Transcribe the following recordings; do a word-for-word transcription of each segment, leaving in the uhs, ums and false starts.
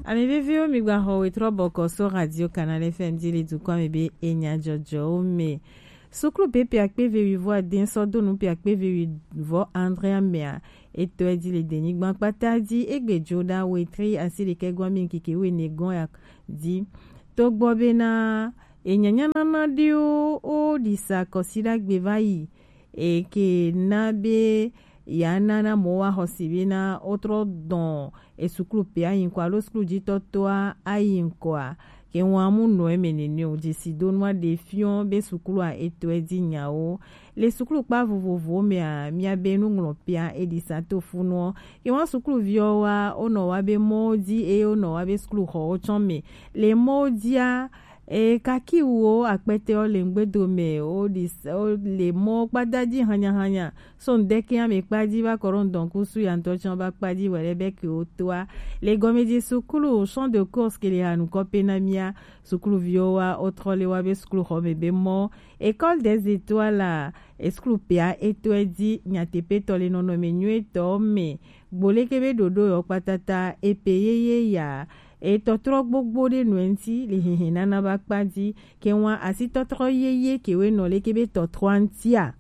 Ame veviwo, mi gba xɔ wetrɔ bɔkɔ so Radio Canal F M dzi le dukɔa me be enya jɔjɔwo me. Suklu B P akpe vewi vɔ ade sɔ do nu P akpe vewi vɔ andre amea, etɔ edzi le denyigba kpata dzi, egbe jo ɖa wetri asi ɖekɛ gɔn mi ŋkeke wene gɔn ya dzi. Togbɔ bena enyanyanana ɖewo wo ɖisa kɔsiɖagbe va yi, eke na be ya na na mɔ wa xɔsi bena wotrɔ dɔn esuklu pe ayi ŋkɔ alo suklu jitɔtɔa ayi ŋkɔa, ke ŋua mu nɔ eme nene o. Jesidonua ɖe fiɔ be suklua etɔ edzi nyawo. Le suklu kpa vovovowo mea, mia be nuŋlɔpea eɖisa to funuɔ. Ke ŋua sukluviwo wa wonɔ wa be mɔwo dzi eye wonɔ wa be sukluxɔwo tsɔ me. Le mɔwo dzia, e kakiwuwo akpɛtɛwo le ŋgbedo me, wo ɖi s- wo le mɔ kpata dzi hanyahanya. So ŋdɛkɛ ame kpa dzi va kɔ ɖo ŋdɔnkusu ya ŋtɔ tsã va kpa dzi wɛ ɖe be ke wo toa. Le gɔmedzi suklu champ de course ke le ha nukɔ pe na mia sukluviwo wa wotrɔ le wa be sukluxɔ me be mɔ. École des étoiles la, esuklu pea etɔ edzi nyateƒetɔ le nɔnɔme nyuietɔ me. Gbo leke be ɖoɖo yɔ kpatata epe yeye ya. Etɔtrɔ gbogbo ɖe nɔe ŋti le hihi nana va kpa dzi. Ke ŋua asitɔtrɔ yeye ke we nɔ leke be tɔtrɔa ŋtia.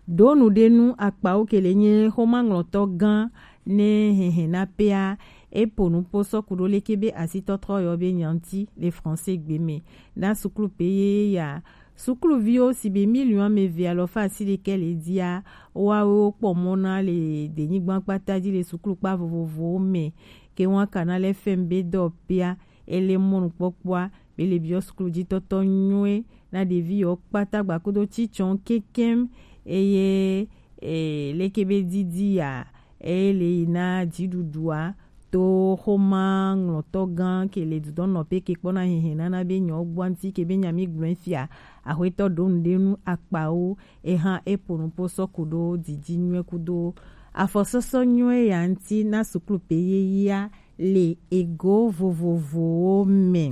Ɖo nu ɖe nu akpawo ke le nye xomaŋlɔtɔ gã ne hɛhɛ na pea, epo nu po sɔku ɖo leke be asitɔtrɔ yɔ be nyanti le français gbe me. Na suklu pe ye ya, sukluviwo si be miliɔn ame eve alɔfa asi ɖekɛ le dzia, woawo kpɔ mɔ na le denyigba kpata dzi le suklu kpa vovovowo me. Ke ŋua kana le fɛm be dɔ pea, ele mɔnukpɔkpɔa, be le biɔ suklu dzi tɔtɔ nyuie na ɖevi yɔ kpata gbakudo tsitsɔn kekem, eye e, leke be didi ya, eye le yi na dziɖuɖua to xoma ŋlɔtɔ gã ke le dudɔnɔ pe ke kpɔna hehe nana be nyɔ gbɔ ŋti ke be nyami gblɔe fia, axwetɔ ɖo nu ɖe nu akpawo, eha epo nu po sɔku ɖo didi nyuie kudo afɔsɔsɔ nyuie ya ŋti na suklu pe yeyea le ego vovovowo me.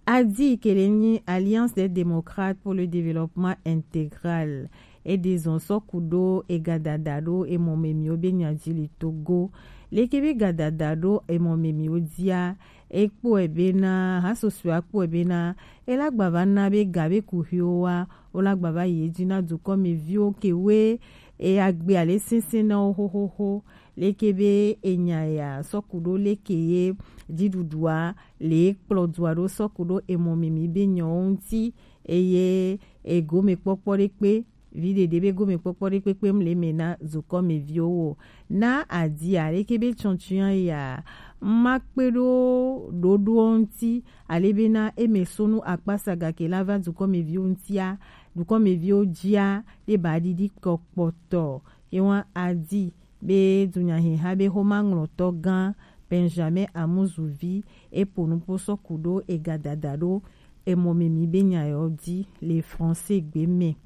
Adi ke le nyi Alliance des Démocrates pour le Développement Intégral. Ede zɔn sɔku ɖo egadada ɖo emɔmemiwo be nya dzi le Togo. Leke be gadada ɖo emɔmemiwo dzia, ekpɔe bena, hasosoe akpɔe bena, ela gba va na be ga be kuxiwo wa, wola gba va yi edzi na dukɔmeviwo ke we e agbe ale sese na wo xoxoxo. Leke be enya ya sɔku ɖo leke ye dziɖuɖua le kplɔ dua ɖo sɔku ɖo emɔ mimi be nyɔwo ŋti, eye egomekpɔkpɔ ɖe kpe, vi ɖeɖe be gomekpɔkpɔ ɖe kpekpe mu le me na zukɔmeviwo wo. Na adia leke be tsɔntsia ya ma kpe ɖo ɖoɖoɔ ŋti, ale be na eme sonu akpasaga ke la va dukɔmeviwo ŋtia, dukɔmeviwo dzia, ɖe ba ɖiɖi kɔ kpɔtɔ. Ye wa adi be dunyaheha be xomaŋlɔtɔ gã Benjamin Amuzuvi epo nupo sɔku ɖo egadada ɖo emɔ mimi be nya yɔ di le français gbe me.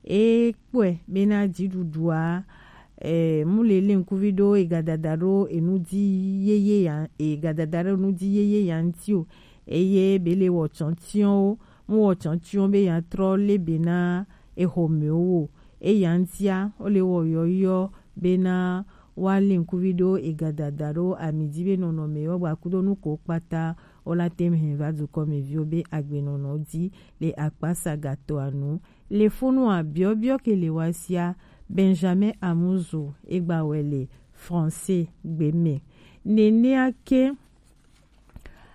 E kpɔe bena dziɖuɖua, e, mu le le ŋkuvi ɖo egadada ɖo enu di yeye ya, egadada ɖo enu di yeye ya ŋti o. Eye be le wɔ tsɔntsiɔnwo, mu wɔ tsɔntsiɔn be ya trɔ le be na exɔmewo o. Eya ŋtia, wo le wɔ yɔyɔ bena wa le ŋkuvi ɖo egadada ɖo ami di be nɔnɔme yɔ gba kudo nu ko kpata, wo la te hɛn va dukɔmeviwo be agbenɔnɔ di le akpasagatɔa nu. Le funu a biɔbiɔ ke le wa sia, Benjamin Amuzu egba wɛ le français gbe me. Nenea ke,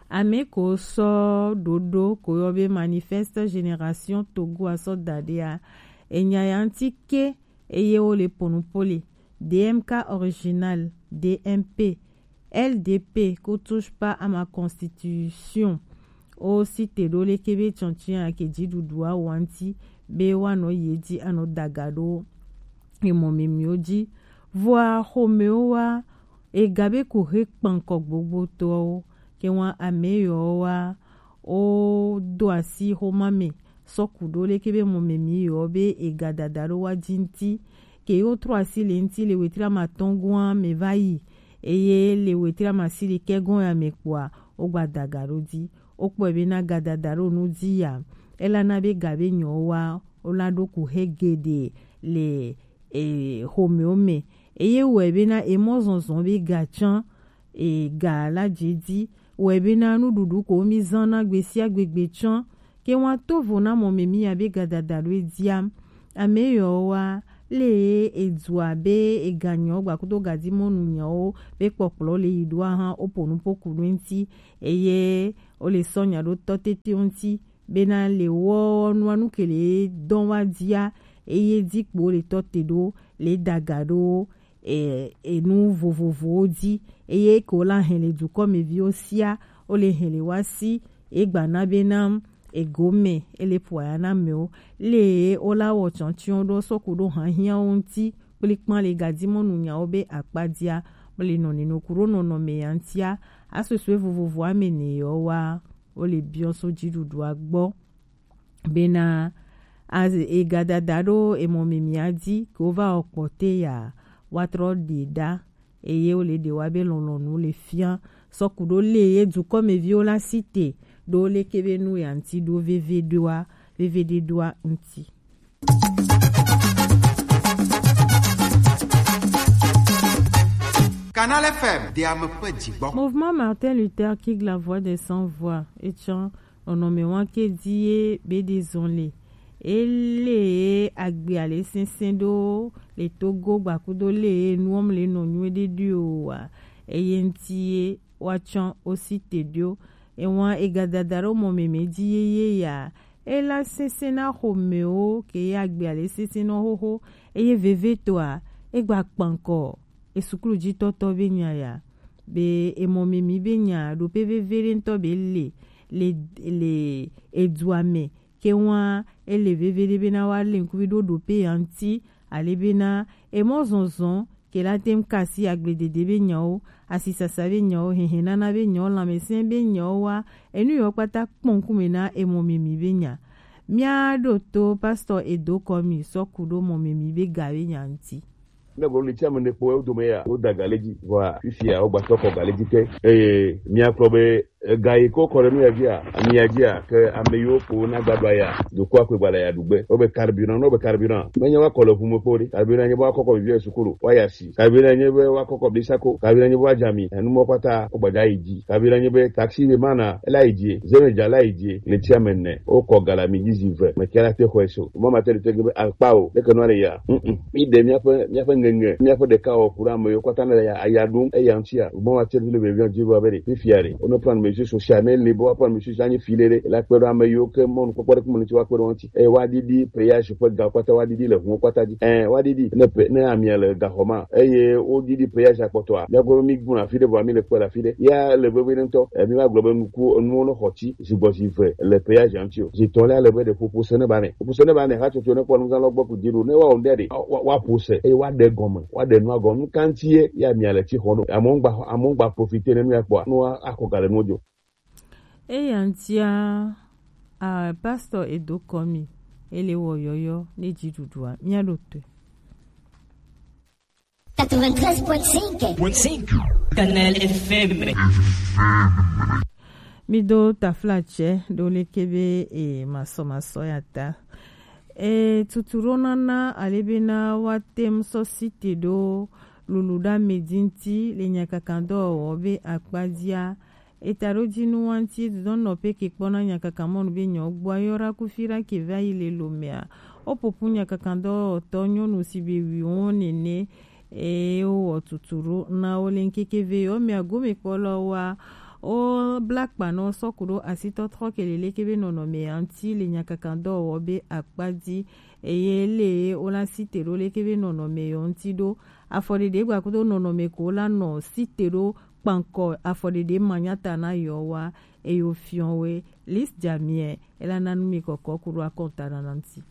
ame ko sɔ ɖoɖo ko yɔ be Manifeste Génération Togo a sɔ da ɖe a, enya ya ŋti ke, eye wo le ponupo le D M K original, D M P, L D P ko touche pas à ma constitution. O si te ɖo leke be tsɔntsi a ke dziɖuɖua wa ŋti be wa nɔ ye di anɔ daga ɖo emɔ mimiwo di. Vɔa xomewo wa, ega be ko he kpankɔ gbogbotɔwo, ke wa ame yɔ wa, o do asi xoma me, sɔku ɖo leke be mɔ mimi yɔ be egadada ɖo wa di ŋti, ke yo trɔ asi le ŋti le wetri amatɔn gɔn me va yi, eye le wetri amasi ɖekɛ gɔn ya me kpɔa, wo gba daga ɖo di. Wo kpɔe be na gadada ɖo nu di ya, ela na be ga be nyɔ wa, wo la ɖo ku he geɖe le e, xomewo me. Eye wɔe bena emɔ zɔnzɔn be ga tsã, e ga la je di wɛ be na nuɖuɖu ko mi zan na gbe sia gbe gbe tsɔn ke wa to vo na mɔ me mi ya be ga dada ɖo e dia. Ame yɔ wa le e du abe e ga nyɔ gba kudo ga di mɔnu nyɔ wo be kpɔkplɔ le yi ɖo ahan o po nu po ku ɖo ŋti eye o le sɔ nya ɖo tɔ tete o ŋti bena le wɔ nua nu ke le dɔn wa dia eye di kpo le tɔ te ɖo le daga ɖo e, enu vovovowo di eye ke wo la hɛn le dukɔmeviwo sia wo le hɛn le wa si e gba na be na ego me e le po aya na amewo le wo la wɔ tsɔntsɔn ɖo sɔku ɖo hahiawo ŋti kplikpan le gadi mɔnu nyawo be akpa dia mo le nɔ nino ku ɖo nɔnɔme ya ŋtia asosue vovovo ame ne yɔ wa wo le biɔ so dziɖuɖua gbɔ. Bena a- e ga dada ɖo emɔ me mia di ke wo va wɔ kpɔte ya wa trɔ ɖe ɖa eye wo le ɖe wa be lɔlɔnu le fia sɔku ɖo le ye dukɔmeviwo la si te ɖo leke be nu ya ŋti ɖo veve ɖoa veve ɖe ɖoa ŋti. Canal F M, de ame ƒe dzigbɔ. Mouvement Martin Luther King, la voix des sans voix, etsɔ nɔnɔme wa ke di ye be ɖi zɔn le. Ele agbe ale sese ɖo le Togo gbakudo le nuwɔm le nɔ nyuie ɖe ɖi o wa. Eye ŋti ye wa tsɔ o si te ɖo. Ewa e ga dada ɖo mɔ meme di ye ye ya. Ela sese na xɔmewo ke ye agbe ale sese nɔ xoxo. Eye veve tɔa, e gba kpankɔ e suklu ji tɔtɔ be nya ya. Be emɔ meme be nya ɖo pe veve ɖe ŋtɔ be le le le edua me ke wa ele veve ɖe be na wa le ŋkuvi ɖo ɖo pe ya ŋti ale be na emɔ zɔnzɔn ke la tem kasi agbledede be nyawo, asisasa be nyawo, hehenana be nyawo, lanmesɛn be nyawo wa enu yɔ kpata kpɔ ŋkume na emɔ meme be nya. Mia ɖo to pastor edo kɔ mi sɔku ɖo mɔ meme be ga be nya ŋti. Ne gblɔ le tia me ne kpɔ wo dome ya, wo da ga le dzi. Vɔa, fifia, wo gba sɔ kɔ ga le dzi ke. Eye mia kplɔ be, e, ga yi ko kɔ ɖe nu ya dzia, ami ya dzia, ke ame yiwo ko na gba ɖo ya, do ko akpe gba le ya ɖu gbe. Wo be carburant, no be carburant. Me nya wa kɔ le ʋu me kpo ɖe. Carburant nye be wa kɔkɔ vivi sukulu, wa ya si. Carburant nye be wa kɔkɔ blisako. Carburant nye be wa dzami. Enu mɔ kpata, wo gba dza yi dzi. Carburant nye be taxi be mana, ela yi dzi. Zeme dza la yi dzi. Le tia me ne, wo kɔ ga le ami dzi zi ve. Me kia la te xɔe so. Mɔ ma te le te ge be akpa o. Leke nua le ya. Mm-mm. Mi ɖe míaƒe, míaƒe ŋeŋe, míaƒe ɖekawɔku ɖe ame yiwo katã le ya, aya ɖum, eya ŋutia, bon, wa tsɛ le be viɔn dzivo abe ɖe, fifia ɖe, wonɔ plan mesure social, ne le be wa plan mesure social, anyi fi ɖe ɖe, la kpe ɖe ame yiwo ke mɔnukpɔkpɔ ɖe kuma ŋuti wa kpe ɖe wo ŋuti. Eye wa ɖiɖi péage ƒe ga kpata wa ɖiɖi le ʋuwo kpata dzi. Ɛ, wa ɖiɖi, ne pe-, ne amia le ga xɔ ma, eye wo ɖiɖi péage akpɔtɔa, mía gbɔ mi gbuna fi ɖe vɔa mi le kpe le afi ɖe. Ya le veve ɖe ŋutɔ, ɛ, mi va gblɔ be nuku, enuwo ne xɔ tsi, zigbɔ zi ve le péage ŋuti o. Zi tɔ le ale be ɖe ƒoƒo se ne ba me. Ƒoƒo se ne ba me, hatsotso ne kpɔ nuzan lɔ gbɔ ku dzi ɖo, ne wa o ɖe ɖe, wa, wa ƒo se, eye wa ɖe gɔme, wa ɖe nua gɔme. Nu ka ŋuti ye, ya mia le tsi xɔ no. Amewo gba, amewo gba profiter ne nu ya kpɔa, ne wa akɔ ga le nuwo dzo. Eya ŋutia, a, pastor edo kɔ mi, ele wɔ yɔyɔ ne dziɖuɖua, mia ɖo toe. Quatre-vingt-treize point cinq. Canal F M. Mi do tafla tsɛ ɖo leke be e masɔ masɔ ya ta. E tutu ɖo nana ale be na wa tem sɔ site ɖo lulu ɖa me di ŋti le nyakakan dɔwɔwɔ be akpa dia. Eta ɖo dzi nu wa ŋti dodɔ nɔ pe ke kpɔ na nyakakan mɔnu be nyɔ gbɔ ayɔ ɖa kufi ɖa ke va yi le lo mea. O popu nyakakan dɔwɔwɔtɔ nyɔnu si be wi wo nene. Eye wowɔ tutu ɖo na wo le ŋkeke ve yewo mea gomekpɔlawoa, wobla kpa na wo sɔ ku ɖo asitɔtrɔ ke le leke be nɔnɔme ya ŋuti le nyakakan dɔwɔwɔ be akpa dzi. Eye le wola site ɖo leke be nɔnɔme yewo ŋuti ɖo. Afɔɖeɖe gba kudo nɔnɔme ko wola nɔ site ɖo kpankɔ afɔɖeɖe manyata na yewoa, eye wofiɔ we. Lis Jamie, ela na nu mi kɔkɔ ku ɖo akɔnta nana ŋuti.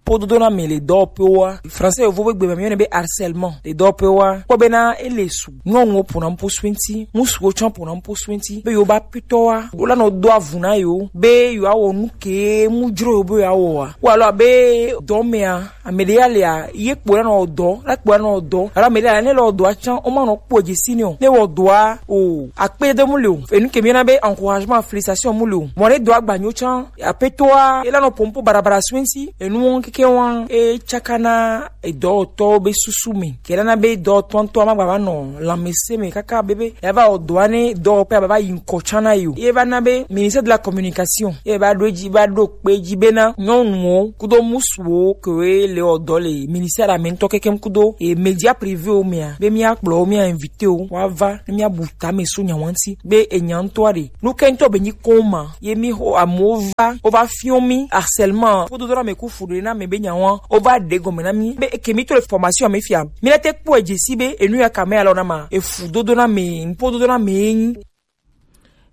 Kpododo na me le dɔwɔƒewoa. Français yovo be gbe me yɔnɛ be harcèlement. Le dɔwɔƒewoa, kpɔ bena ele su. Nyɔnuwo ƒona nuƒo su eŋti, ŋutsuwo tsã ƒona nuƒo su eŋti. Be yewo be aƒetɔwoa, wola nɔ do avu na yewo. Be yewoawɔ nu ke mu dzro yewo be yewoawɔa. Wo alo abe dɔ mea, ame ɖe ya lea, ye kpo la nɔ wɔ dɔ, la kpo la nɔ wɔ dɔ. Alo ame ɖe ya ne le wɔ dɔa tsã, woma nɔ kpɔ dze si nɛ o. Ne wɔ dɔa o, akpe de mu le o. Enu ke mi yɔna be encouragement, félicitation mu le o. Mɔ ɖe dɔa gba nyo tsã, aƒetɔa, ela nɔ ƒom ƒo barabara su eŋti. Enuwo keke Ke wan e tsaka na edɔwɔtɔwo be susu me. Ke na be dɔwɔtɔ ŋutɔ ma gba va nɔ lãmesẽ me kaka be be ya va wɔ dɔa ne dɔwɔƒe ava va yi ŋkɔ tsã na yi o. Ye va na be ministère de la communication ye va ɖo edzi, va ɖo kpe edzi bena nyɔnuwo kudo musuwo kewoe le wɔ dɔ le ministère la me ŋutɔ kekem kudo e média privé wo mea be mía kplɔ wo, mía invité wo woava ne mía bu tame so nya ŋuti be enya ŋutɔa ɖe nu ke ŋutɔ be nyi koma ye mi xo amewo va wova fiɔ mi harcèlement kpododoname ku fuɖoɖename be nya wa wova ɖe gɔme na mi be eke mi to le formation me fia mi la te kpɔe dze si be enu ya ka me alɔ na ma efu dodo na me ŋpo dodo na me ŋu.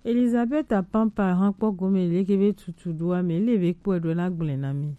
Elizabeth Apampa hã kpɔ gome leke be tutu ɖoa me le be kpɔe ɖo la gblẽ na mi.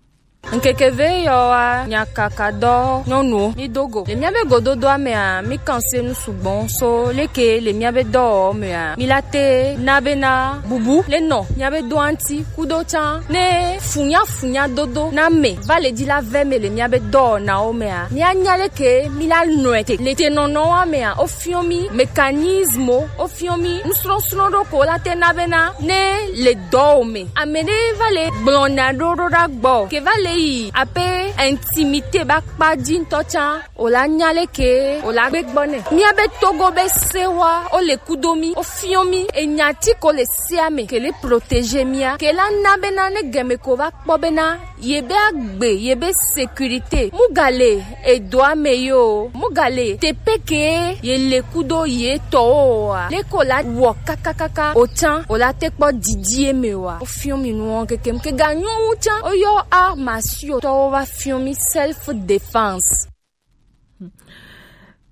Ŋkeke ve yɔ wa nyakaka dɔ nyɔnuwo mi do go le míabe gododoa mea mi kan se nu sugbɔ so leke le míabe dɔwɔwɔ mea mi la te na bena bubu le nɔ míabe doa ŋuti kudo tsã ne funyafunya dodo na me va le dzi la vɛ me le míabe dɔwɔnawo mea míanya leke mi la nɔe te le te nɔnɔwa mea wofiɔ mi mécanisme wo wofiɔ mi nusrɔ̃srɔ̃ ɖo ko la te na bena ne le dɔwo me ame ɖe va le gblɔna ɖo ɖo ɖa gbɔ ke va le yi ape intimité ba kpa dzi ŋutɔ tsã o la nya leke o la gbe gbɔ nɛ míabe togo be sewa o le kudo mi o fiɔ mi enya ti ko le sea me ke le protéger mia ke la na bena ne gɛme ko va kpɔ bena ye be agbe ye be sécurité mu ga le edoa me yo mu ga le tepe ke ye le kudo ye tɔwo oa leko la wɔ kakakaka o tsã o la te kpɔ didi eme oa o fiɔ mi nuwo kekem ke ga nyɔ wu tsã o yɔ arts martiaux tɔwo va fiɔ mi self défense.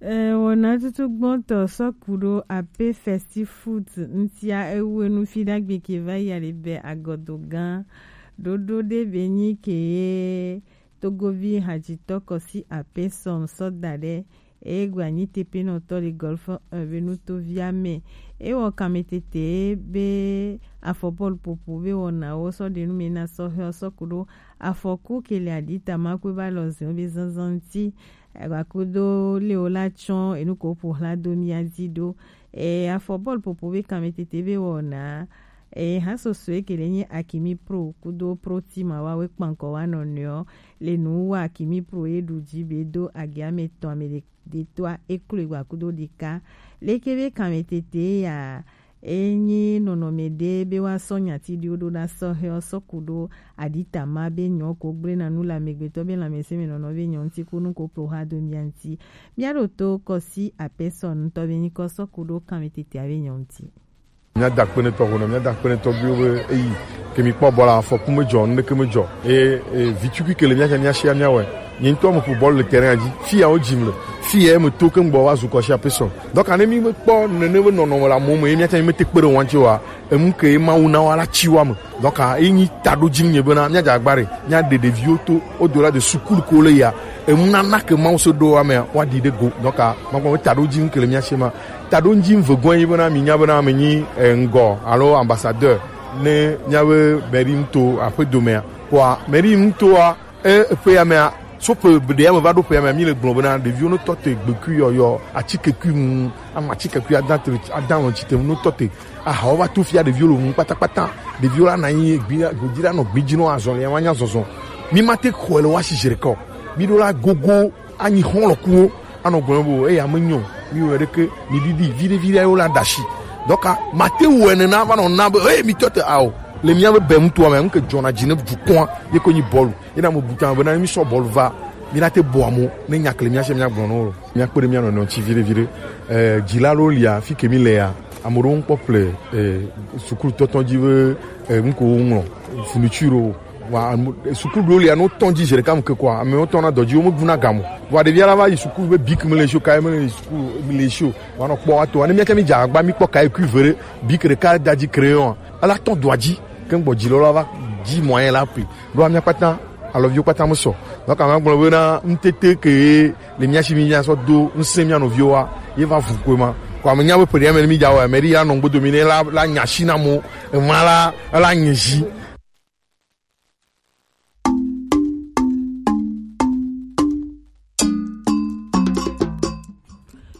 Eh, wɔna tutu gbɔntɔ sɔku ɖo ape festi foot ŋutia ewu enu fi ɖagbe ke va yi alibe agɔdo gã ɖoɖo ɖe be nyi ke ye togovi hadzitɔ kɔsi ape sɔn sɔ da ɖe eye gbe anyi tepenɔtɔ le golf un be nutovia me ewɔ kametete be afɔ bɔlu popo be wɔnawo sɔ ɖe nu me na sɔhɛ sɔku ɖo afɔku ke le adita ma kpe va lɔ zɛn be zanzan ŋuti Egbakudo le wo la tsɔ enu ko ƒo hla do mia dzi ɖo. E afɔ bɔl popo be kanmetete be wɔna. E ha sosoe ke le nye Akimi Pro kudo Pro Team wa we kpankɔ wa nɔnɔeɔ. Le nu wa Akimi Pro ye ɖu dzi be do agi ame etɔ̃ ame ɖe- ɖetɔa e klo egbakudo ɖeka. Leke be kanmetete ya Enyi nɔnɔme ɖe be woasɔ nyati ɖiwo ɖo na sɔhɛwo sɔ ku ɖo aɖitama be nyɔ ko gblena nu le amegbetɔ be lãmesẽ me nɔnɔ be nyɔ ŋuti ku nu ko ploha do mia ŋuti. Mia ɖo to kɔsi apɛsɔ ŋutɔ be nyikɔ sɔ ku ɖo kanmɛ tetea be nyɔ ŋuti. Mia da kpenetɔ ho nɔ mia da kpenetɔ biwo be eyi ke mi kpɔ bɔla afɔku me dzɔ nu ɖeke me dzɔ. E, e, vi tukui ke le mia ke mia shia mia wɛ. Nye ŋutɔ meƒo bɔl le terrain dzi. Fi ya wodzim le. Fi ya meto ke ŋgbɔ woazu kɔ si ape sɔ. Donc ne mi mekpɔ nene be nɔnɔme le amewo me ye miatsã mi mete kpe ɖe wo ŋuti oa, enu ke ye Mawu na woa la tsi woa me. Donc eyi nyi taɖodzinu nye bena miadze agba ɖe, miaɖe ɖeviwo to au-delà de sukulu ko le ya. Enu nana ke Mawu se ɖo woa mea, woaɖi ɖe go. Donc magblɔ be taɖodzinu ke le mia si ma. Taɖodzinu vegɔe nyi bena minya bena menyi eh, ŋgɔ alo ambassadeur ne miabe mairie nuto aƒedomea. Kpɔa mairie nutoa E ƒe ya mea, so ƒe ɖe ya me va ɖo ƒe ya mea, mi le gblɔ bena ɖeviwo no tɔ te gbekui yɔyɔ, atikekui ŋu, ama atikekui ada te, ada lɔn tsi te no tɔ te. Ahawo va to fia ɖeviwo le ŋu kpatakpata. Ɖeviwo la na anyi gbi, godi la nɔ gbi dzi no azɔli ya ma nya zɔzɔ. Mi ma te xɔe le wa si zi ɖeka o. Mi ɖo la gogo anyi xɔlɔkuwo anɔ gblɔ bo eya me nyɔ. Mi wɔ ɖeke mi ɖiɖi viɖe viɖe yo la da si. Donc ma te wɔ nena va nɔ na be hey mi tɔ te ao. Le mia be bɛn mutoa me ŋke dzɔna dzi ne dukɔa ye ko nyi bɔlu. Ye na mo buta be na mi sɔ bɔlu va. Mi na te bɔ amo ne nya kle mia se mia gblɔ no. Mia kpe ɖe mia nɔnɔ ŋuti viɖe viɖe. Eh, dzila ɖewo lia fi ke mi le ya. Ame ɖewo ŋkpɔ ple eh, sukulu tɔtɔ dzi be eh, ŋko wo ŋlɔ fourniture ɖewo. Wa ame- eh, sukulu ɖewo lia no tɔn dzi zi ɖeka me ke kɔa ame wo tɔn na dɔ dzi wo me guna gamo. Wa ɖevia la va yi sukulu be bik me le sio kae me le sukulu me le sio. Wa nɔ kpɔ wa to. Wa ne mia ke mi dza agba mi kpɔ kae kui vere bik ɖeka da dzi crayon. Ela tɔn doa dzi. Ke ŋgbɔ dzi lɔ la va dzi mɔ anyi la ƒle. Ɖoa mia kpata alɔviwo kpata me sɔ. Donc ama gblɔ be na ŋtete ke le mia si mi mia sɔ do ŋsẽ mia nɔviwo wa ye va vu koe ma. Ko ame nya be ƒe ɖe ame mi dza wɔ ame ɖi ya nɔ ŋgbodo mi ne la la nya si na mo ema la la nye zi.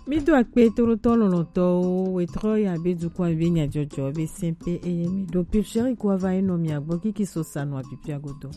Mido akpe toɖotɔ lɔlɔtɔwo wetrɔ ya be dukɔ be nyadzɔdzɔ be sɛnpe eye mi ɖo pipsɛri kua va enɔ mia gbɔ kiki so sanu apipia godo.